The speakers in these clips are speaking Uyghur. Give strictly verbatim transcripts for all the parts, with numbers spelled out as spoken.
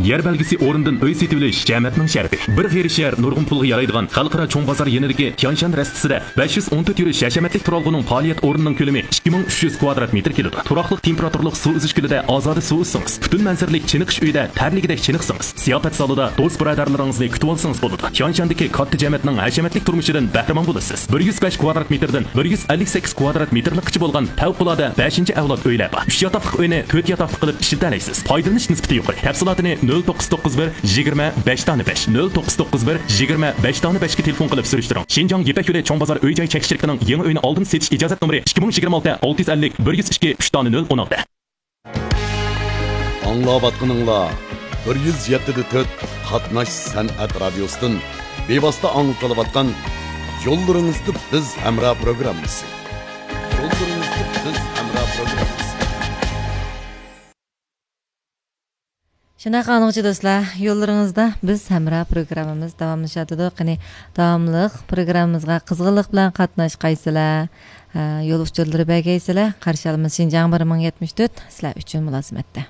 يەر بەلگىسى ئورنىدىن ئۆي سېتىۋېلىش جەمەتنىڭ شەرىپى. بىر غېرىب شەھەر نۇرغۇن پۇلغا يارايدىغان خەلقئارا چوڭ بازار يېنىدىكى تيانشان رەستىسىدە بەش يۈز ئون تۆت يۈرۈش ھەشەمەتلىك تۇرالغۇنىڭ پائالىيەت ئورنىنىڭ كۆلىمى ئىككى مىڭ ئۈچ يۈز كۋادرات مېتىر كېلىدۇ. تۇراقلىق تېمپېراتۇرىلىق سۇ ئۈزۈش كۆلىدە ئازادە سۇ ئۈزسىڭىز، پۈتۈن مەنزىرىلىك چېنىقىش ئۆيىدە تەرلىگۈدەك چېنىقسىڭىز، زىياپەت زالىدا دوست بۇرادەرلىرىڭىزنى كۈتۈۋالسىڭىز بولىدۇ. تيانشاندىكى كاتتا جەمەتنىڭ ھەشەمەتلىك تۇرمۇشىدىن بەھرىمەن بولىسىز. بىر يۈز بەش كۋادرات مېتىردىن بىر يۈز ئەللىك سەككىز كۋادرات مېتىرلىققىچە بولغان پەۋقۇلئاددە بەشىنچى ئەۋلاد ئۆيلەر بار. ئۈچ ياتاقلىق ئۆينى تۆت ياتاقلىق قىلىپ ئىشلىتەلەيسىز. پايدىلىنىش نىسبىتى يۇقىرى. تەپسىلاتىنى نۆل توققۇز توققۇز بىر يىگىرمە بەش دانە بەش، نۆل توققۇز توققۇز بىر يىگىرمە بەش دانە بەشكە تېلېفون قىلىپ سۈرۈشتۈرۈڭ. شىنجاڭ يىپەك يولى چوڭ بازار ئۆي جاي چەكلىك شىركىتىنىڭ يېڭى ئۆينى ئالدىن سېتىش ئىجازەت نومۇرى ئىككى مىڭ يىگىرمە ئالتە ئالتە يۈز ئەللىك بىر يۈز ئىككى ئۈچ دانە نۆل ئون ئالتە. ئاڭلاۋاتقىنىڭلار بىر يۈز يەتتە دە تۆت قاتناش سەنئەت رادىيوسىدىن بىۋاسىتە ئاڭلىتىلىۋاتقان يوللىرىڭىزدا بىز ھەمراھ پروگراممىسى. يوللىرىڭىزدا بىز ھەمراھ پروگراممىسى. شۇنداق ئاڭلىغۇچى دوستلار، يوللىرىڭىزدا بىز ھەمراھ پروگراممىمىز داۋاملىشىۋاتىدۇ. قېنى، داۋاملىق پروگراممىمىزغا قىزغىنلىق بىلەن قاتناشقايسىلەر. ھە، يول ئۇچۇرلىرى بەرگەيسىلەر، قارشى ئالىمىز شىنجاڭ بىر مىڭ يەتمىش تۆت سىلەر ئۈچۈن مۇلازىمەتتە.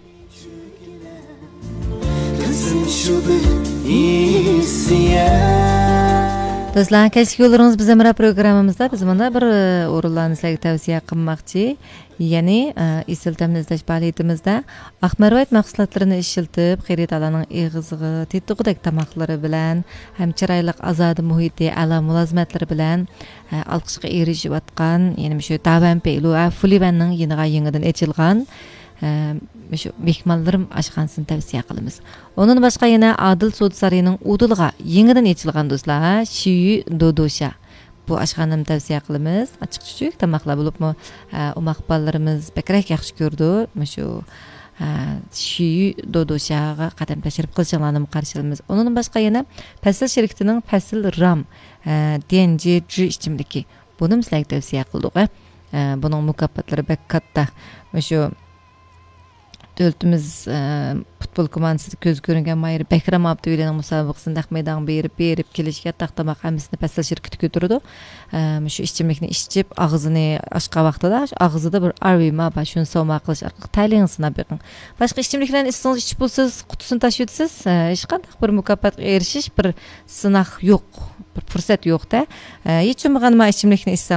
دوستلار، كەچلىك يوللىرىڭىز بىز ھەمراھ پروگراممىمىزدا بىز مۇنداق بىر، ئە، ئورۇنلارنى سىلەرگە تەۋسىيە قىلماقچى. يەنى، ئە، ئېسىل تەمنى ئىزدەش پائالىيىتىمىزدە ئاق مەرۋايىت مەھسۇلاتلىرىنى ئىشلىتىپ، خېرىدارلارنىڭ ئېغىزىغا تېتىغۇدەك تاماقلىرى بىلەن ھەم چىرايلىق ئازادە مۇھىتى، ئەلا مۇلازىمەتلىرى بىلەن ئە، ئالقىشقا ئېرىشىۋاتقان، يەنە مۇشۇ داۋەن پېيلۇ، ئە، فۇلىۋەننىڭ يېنىغا يېڭىدىن ئېچىلغان، ئە، مۇشۇ مېھمانلىرىم ئاشخانىسىنى تەۋسىيە قىلىمىز. ئۇنىڭدىن باشقا يەنە ئادىل سودا سارىيىنىڭ ئۇدۇلىغا يېڭىدىن ئېچىلغان دوستلار، ھە، شىيۈ دودوشا. بۇ ئاشخانىنى تەۋسىيە قىلىمىز. ئاچچىق چۈچۈك تاماقلار بولۇپمۇ، ئە، ئوماق بالىلىرىمىز بەكرەك ياخشى كۆرىدۇ. مۇشۇ، ئە، شىيۈ دودوشاغا قەدەم تەشرىپ قىلىشىڭلارنى قارشى ئالىمىز. ئۇنىڭدىن باشقا يەنە پەسىل شىركىتىنىڭ پەسىل رام، ئە، ديەنجى جۈ ئىچىملىكى. بۇنىمۇ سىلەرگە تەۋسىيە قىلدۇق، ھە. ئە، بۇنىڭ مۇكاپاتلىرى بەك كاتتا. مۇشۇ دۆلىتىمىز، ئە، پۇتبول كوماندىسىدا كۆزگە كۆرۈنگەن ماھىر بەكرەم ئابدۇۋەلىنىڭ مۇسابىقىسىنى نەق مەيدانغا بېرىپ، بېرىپ كېلىش، ياتاق، تاماق ھەممىسىنى پەسىل شىركىتى كۆتۈرىدۇ. ئە، مۇشۇ ئىچىملىكنى ئىچىپ، ئاغزىنى ئاچقان ۋاقتىدا، شۇ ئاغزىدا بىر ئارۋىما بار، شۇنى سوما قىلىش ئارقىلىق تەلىيىڭىزنى سىناپ بېقىڭ. باشقا ئىچىملىكلەرنى ئىچسىڭىز ئىچىپ بولىسىز، قۇتىسىنى تاشلىۋېتىسىز. ئە، ھېچقانداق بىر مۇكاپاتقا ئېرىشىش، بىر سىناق يوق، بىر پۇرسەت يوق-دە. ئە، ھېچ بولمىغاندا مانا ئىچىملىكنى ئىچسەڭلار،